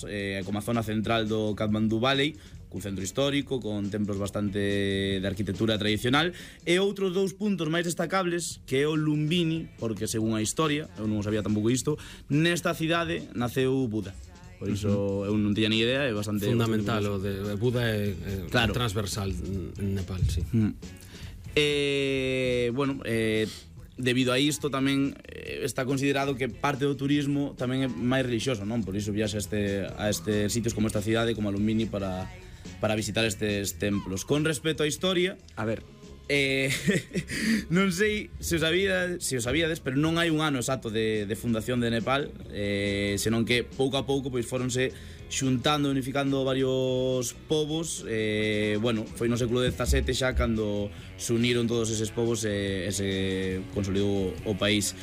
zonas, como a zona central do Kathmandu Valley, cun centro histórico, con templos bastante de arquitectura tradicional, e outros 2 puntos máis destacables, que é o Lumbini, porque según a historia, eu non sabía tampouco isto, nesta cidade naceu Buda. Por iso eu non tiña ni idea, é bastante fundamental, o de Buda é claro, transversal en Nepal, sí. Bueno, debido a isto tamén está considerado que parte do turismo tamén é máis religioso, non? Por iso viaxa a estes sitios como esta cidade, como a Lumbini, para visitar estes templos. Con respecto á historia, a ver, non sei se o sabíades, pero non hai un ano exacto de fundación de Nepal, senón que pouco a pouco pois foronse xuntando, unificando varios povos. Bueno, foi no século XVII xa cando se uniron todos eses povos e se consolidou o país.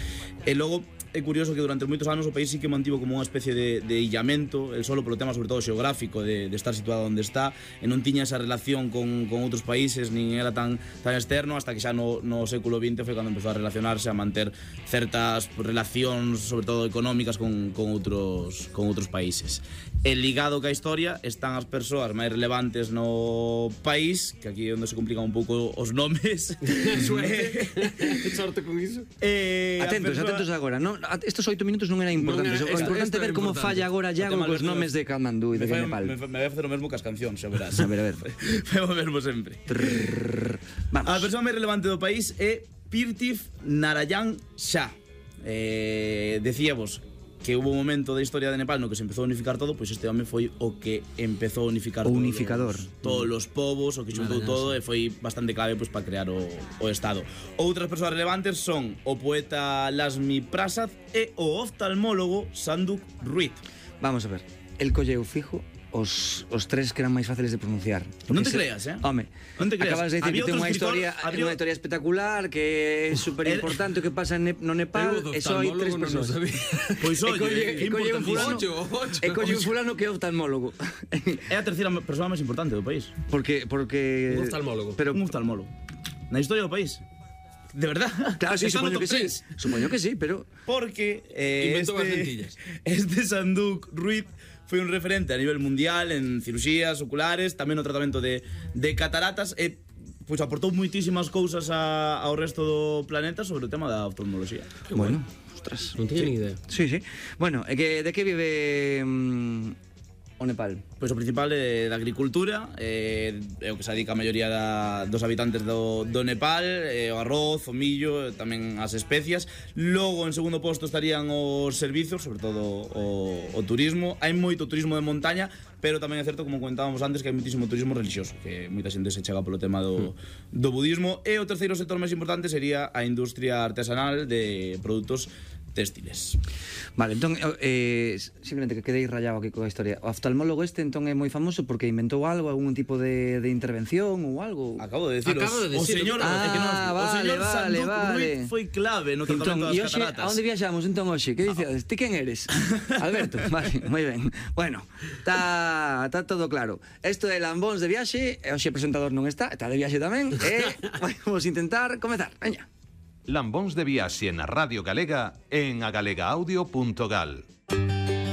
E logo é curioso que durante moitos anos o país sí que mantivo como unha especie de illamento, el solo polo tema sobre todo xeográfico de estar situado onde está, e non tiña esa relación con outros países, nin era tan externo, hasta que xa no século XX foi cando empezou a relacionarse, a manter certas relacións, sobre todo económicas, con outros países. E ligado ca historia están as persoas máis relevantes no país, que aquí é onde se complican un pouco os nomes. Sorte con iso. Atentos agora, non? Estos 8 minutos non era importante. É importante ver como falla agora Iago cos nomes de Kathmandu e de Nepal. Me vai facer o mesmo que as cancións, xa verás. A ver. Foi o mesmo sempre. Vamos. A persoa máis relevante do país é Pirtif Narayan Shah. Decíamos que hubo un momento da historia de Nepal no que se empezou a unificar todo, pois este home foi o que empezou a unificar todos os povos, o que xuntou todo, e foi bastante clave pois para crear o Estado. Outras persoas relevantes son o poeta Lakshmi Prasad e o oftalmólogo Sanduk Ruit. Vamos a ver, el colleu fijo os 3 que eran máis fáciles de pronunciar. Non te creas, Home, non te creas. Acabas de dicir que ten unha historia espectacular, que é super importante o que pasa no Nepal, e só hai 3 persoas. Pois oye, e colle un fulano que é oftalmólogo. É a terceira persoa máis importante do país. Porque un oftalmólogo. Un oftalmólogo. Na historia do país. De verdad. Claro, sí, supoño que sí. Supoño que sí, pero porque inventó as lentillas. Este Sanduk Ruit foi un referente a nivel mundial en cirurxías oculares, tamén no tratamento de cataratas, e pois aportou moitísimas cousas ao resto do planeta sobre o tema da oftalmoloxía. Bueno, ostras, non teño ni idea. Sí. Bueno, de que vive o Nepal? Pois o principal é da agricultura, é o que se dedica a maioría dos habitantes do Nepal, o arroz, o millo, tamén as especias. Logo, en segundo posto, estarían os servizos, sobre todo o turismo. Hai moito turismo de montaña, pero tamén é certo, como comentábamos antes, que hai moitísimo turismo religioso, que moita xente se chega polo tema do budismo. E o terceiro sector máis importante sería a industria artesanal de produtos textiles. Vale, entón, simplemente que quedei rayado aquí coa historia. O oftalmólogo entón é moi famoso porque inventou algo, algún tipo de intervención ou algo. Acabo de decirlo. O señor Sanduk Ruit foi clave no tratamento das cataratas. A onde viaxamos entón hoxe? Que dices? Ti quen eres? Alberto, vale, moi ben. Bueno, está todo claro. Isto é Lambóns de viaxe, e hoxe o presentador non está de viaxe tamén, e vamos intentar comezar. Veña. Lambóns de viaxe na Radio Galega en agalegaudio.gal.